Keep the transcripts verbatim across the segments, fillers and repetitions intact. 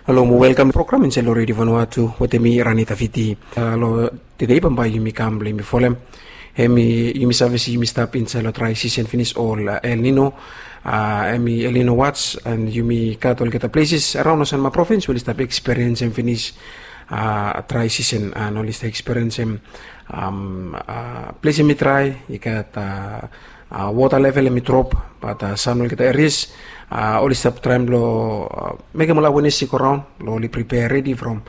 Halo mo welkam program insait long Redio Vanuatu wetem mi, Rani Tafiti. Long tede bambae yumi kam blong yumi folem, hemi yumi save se yumi stap insait long drai sisen finis, ol El Nino, hemi El Nino watch, and yumi gat olgeta pleses araon long Sanma provins we oli stap eksperiensim finis drai sisen, and oli stap eksperiensim ples hemi drai, i gat wota level hemi drop, bat sam long olgeta erias oli stap traem blong mekem ol awenes i go raon blong oli pripea redi from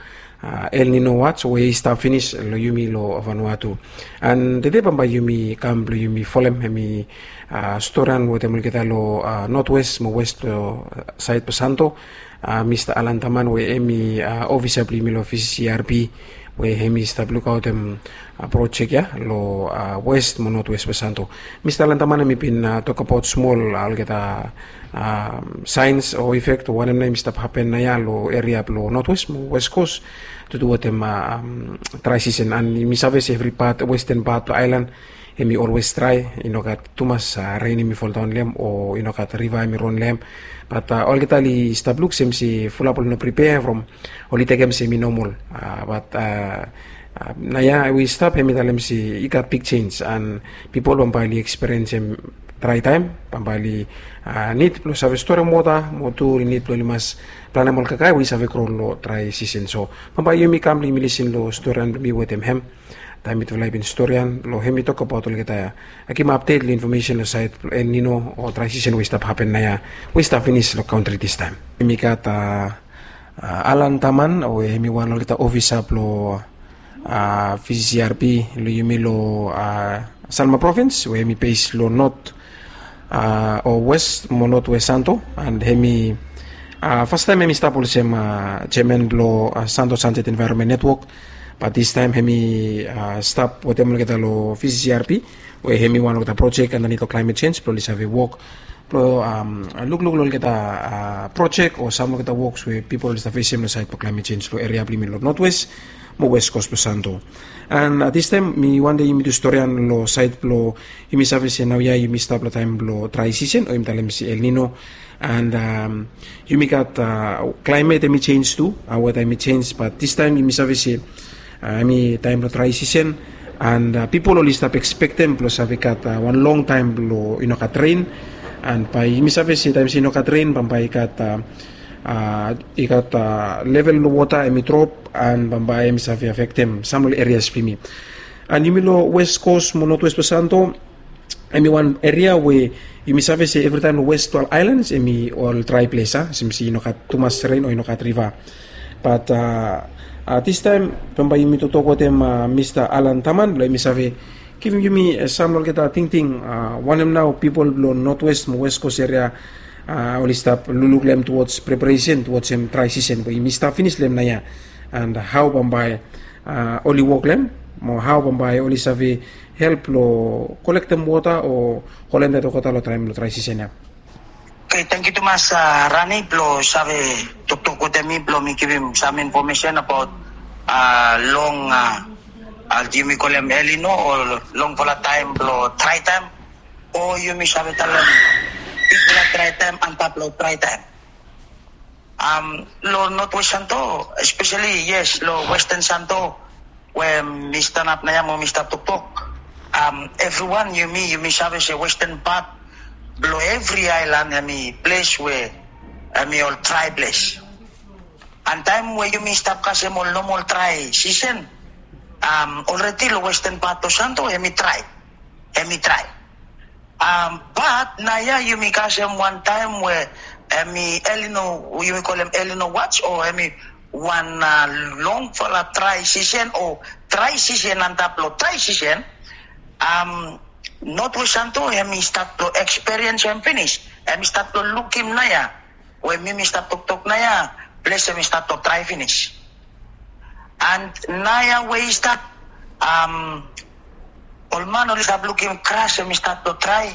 El Nino watch we i stap finis long yumi long Vanuatu. And tede bambae yumi kam blong yumi folem hemi storian wetem olgeta long notwes mo wes blong sait blong Santo, Mista Alan Taman we hemi ofisa blong yumi long V C C R P, we hemi stap lukaotem projek ya long wes mo notwes blong Santo. Mista Alan Taman hemi bin tokbaot smol olgeta saens o efek o wanem nao hemi stap hapen naoia long eria blong notwes mo wes kos, tu duatem drai sisen, and yumi save se evri pat, westen pat blong aelan hemi olwes drai, i no gat tumas ren hemi foldaon long hem o i no gat riva hemi ron long hem. Bat olgeta oli stap luk sem se fulap oli no pripea from oli tekem se hemi nomol. Bat naoia we i stap hemi talem se i gat big jenis, and pipol bambae oli eksperiensim drai taem, bambae oli nid blong save storem wota, mo tu oli nid blong oli mas planem ol kakae we i save gro long drai sisen. So bambae yumi kam blong yumi lisin long storian blong mi wetem hem, taem mitufala i bin storian long hem i tokbaot olgeta, givim apdet long infomesen long sait blong El Nino o drai sisen we i stap hapen naoia, we i stap finis long kantri distaem. Yumi gat Alan Taman we hemi wan long olgeta ofisa blong V C C R P long yumi long Sanma provins we hemi bes long not o wes mo notwes Santo, and hemi fastaem hemi stap olsem jeaman blong Santo Sunset Environment Network. Bat distaem hemi stap wetem olgeta long V C C R P, we hemi wan olgeta projek andanit long klaemet jenj blong oli save wok blong lukluk long olgeta projek o sam olgeta woks we pipol oli stap fesem long sait blong klaemet jenj long eria blong yumi long notwes mo wes kos blong Santo. And distaem mi wantem yumi tu storian long sait blong yumi save se naoia yumi stap long taem blong drai sisen o yumi talem se El Nino. And yumi gat klaemet hemi jenj tu, weta hemi jenj, bat distaem yumi save se hemi taem blong drai sisen, and pipol oli stap ekspektem blong save gat wan long taem blong i no gat ren. And bae yumi save se taem se i no gat ren bambae i gat i gat level long wota hemi drop, and bambae hemi save afektem sam long ol erias blong yumi. And yumi long wes kos mo notwes blong Santo, hemi wan eria we yumi save se evritaem long wes blong ol aelans hemi ol drai ples, a, sem se i no gat tumas ren o i no gat riva. Bat distaem bambae yumi toktok wetem Mista Alan Taman blong hemi save givim yumi sam long olgeta tingting wanem nao pipol blong notwes mo wes kos eria oli stap lukluk long hem tuwods preparesen tuwods hem drai sisen we yumi stap finis long hem naoia, and hao bambae oli wok long hem, mo hao bambae oli save help long kolektem wota o holem dat olgeta long taem blong drai sisen ya. Oke, tangkiu tumas Rani blong save toktok wetem mi blong mi givim sam infomesen abaot long, yumi kolem El Nino o longfala taem blong drai taem, o yumi save talem bigfala drai taem antap long drai taem. Long notwes Santo, espeseli yes long westen Santo we mi stanap naoia mo mi stap toktok, evriwan yumi yumi save se westen pat blong evri aelan hemi ples we hemi ol drai ples. And taem we yumi stap kasem ol nomol drai sisen, olredi long westen pat blong Santo hemi drai, hemi drai. Bat naoia yumi kasem wan taem we hemi El Nino, yumi kolem El Nino watch o hemi wan longfala drai sisen o drai sisen antap long drai sisen. Notwes Santo hemi stat blong eksperiensim finis, hemi stat blong lukim naoia we mi mi stap toktok naoia, ples hemi stat blong drai finis. And naoia we i stap, ol man oli stap lukim gras hemi stat blong drai.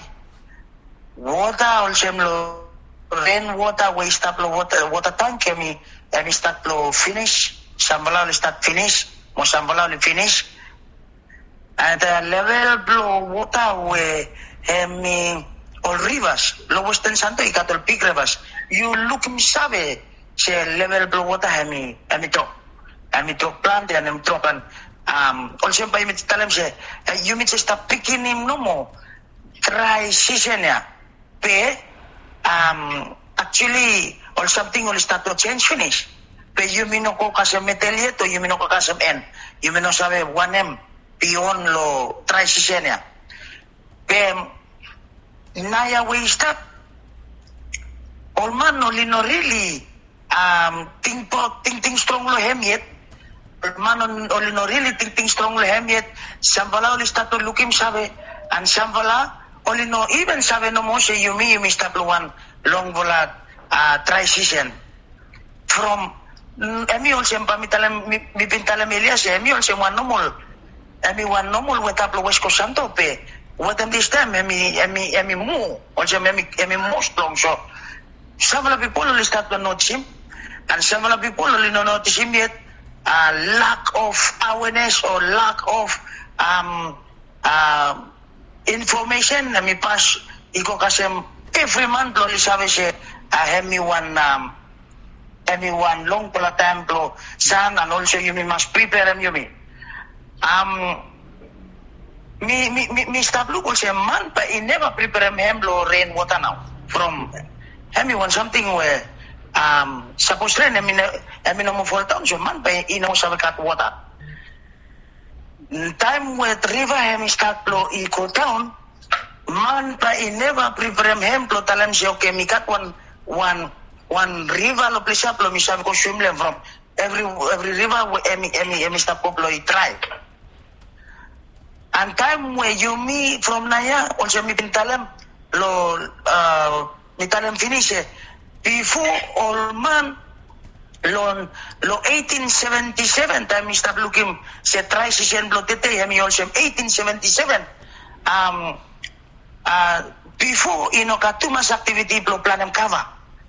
Wota olsem long ren wota we i stap long wota tang hemi, hemi stat blong finis. Samfala oli stat finis mo samfala oli finis. And level blong wota we hemi ol rivas long westen Santo i gat ol big rivas. Yu lukim save se level blong wota hemi hemi drop, hemi drop plante and hemi drop and olsem bae yumi talem se yumi jes stap pikinim nomo drai sisen ya. Be actually ol samting oli stat long sens finis. Be yumi no go kasem medel yet o yumi no go kasem en. Yumi no save wanem bion long drai sisen ya. Be naoia we i stap, ol man oli no rili tingting strong long hem yet. Ol man oli no rili tingting strong long hem yet. Samfala oli stat long lukim save, and samfala oli no even save nomo se yumi yumi stap long wan longfala drai sisen. From hemi olsem bae mi talem, mi bin talem elia se hemi olsem wan nomol, hemi wan nomol weta blong West Coast Santo, be wetem distaem hemi hemi hemi mu olsem hemi hemi moa strong. So samfala pipol oli stat long notisim, and samfala pipol oli no notisim yet. Lack of awareness o lack of information hemi pas i go kasem evri man blong oli save se hemi wan hemi wan longfala taem blong san, and olsem yumi mas priperem yumi. Mi mi mi mi stap luk olsem man bae i neva priperem hem long ren wota nao. From hemi wan samting we sapos ren hemi no hemi no moa foldaon, so man bae i no save gat wota. Taem we riva hemi stat blong i go daon, man bae i neva priperem hem blong talem se oke, mi gat wan wan wan riva long ples ya blong mi save go swim long hem. From evri evri riva we hemi hemi hemi stap go blong i drai. And taem we yumi from naoia olsem mi bin talem long mi talem finis se bifo ol man long long eighteen seventy-seven, taem mi stap lukim se drai sisen blong tede hemi olsem eighteen seventy-seven. Bifo i no gat tumas aktiviti blong planem kava.